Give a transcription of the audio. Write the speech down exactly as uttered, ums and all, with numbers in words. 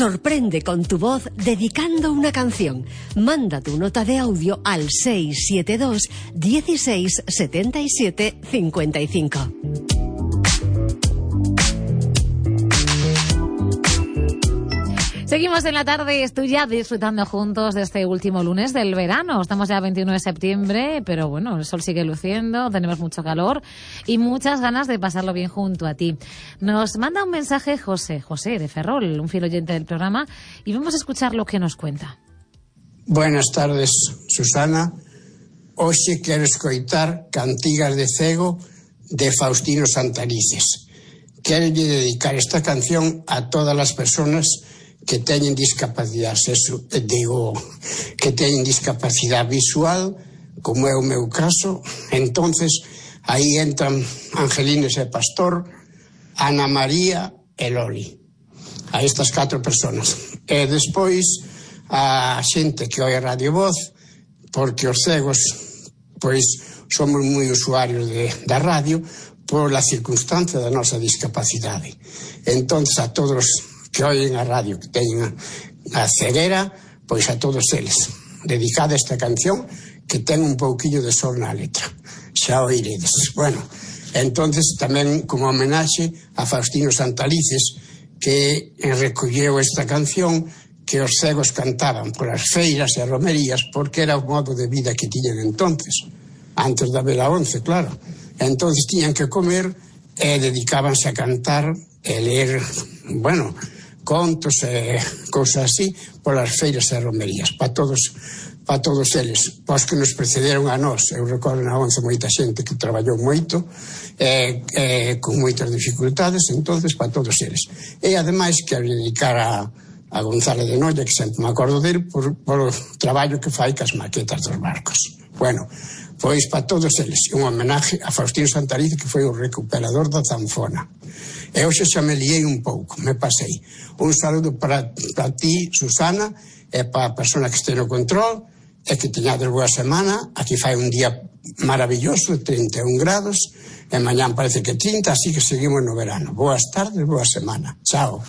Sorprende con tu voz dedicando una canción. Manda tu nota de audio al seis siete dos, dieciséis, setenta y siete, cincuenta y cinco. Seguimos en la tarde, estoy ya disfrutando juntos de este último lunes del verano. Estamos ya a veintiuno de septiembre, pero bueno, el sol sigue luciendo, tenemos mucho calor y muchas ganas de pasarlo bien junto a ti. Nos manda un mensaje José, José de Ferrol, un fiel oyente del programa, y vamos a escuchar lo que nos cuenta. Buenas tardes, Susana. Hoxe quero escoitar Cantigas de Cego de Faustino Santalices. Quero dedicar esta canción a todas as persoas que teñen discapacidade, eso, digo, que teñen discapacidade visual, como é o meu caso. Entonces, aí entran Angelines e Pastor, Ana María e Loli. A estas catro persoas. E despois, a xente que oi a Radio Voz, porque os cegos, pois, somos moi usuarios de, da radio, por la circunstancia da nosa discapacidade. Entonces, a todos que oyen a radio, que teñen a ceguera, pois a todos eles. Dedicada esta canción, que ten un pouquillo de sol na letra. Xa oiredes. Bueno, entonces tamén como homenaxe a Faustino Santalices, que recolleu esta canción que os cegos cantaban por as feiras e romerías, porque era o modo de vida que tiñan entonces, antes da vela once, claro. Entonces tiñan que comer e dedicábanse a cantar e ler, bueno, contos e cousas así polas feiras e romerías, para todos para todos eles, pos que nos precederon a nós. Eu recordo na once moita xente que traballou moito e, e con moitas dificultades, entonces para todos eles. E ademais quero dedicar a, a Gonzalo de Noia, que sempre me acordo dele por, por o traballo que fai cas maquetas dos barcos. Bueno, pois para todos eles, un homenaje a Faustino Santalices, que foi o recuperador da zanfona. E hoxe xa me liei un pouco, me pasei. Un saludo para, para ti, Susana, e para a persona que este no control, e que teñades boa semana. Aquí fai un día maravilloso, trinta e un grados, e mañán parece que trinta, así que seguimos no verano. Boas tardes, boa semana. Chao.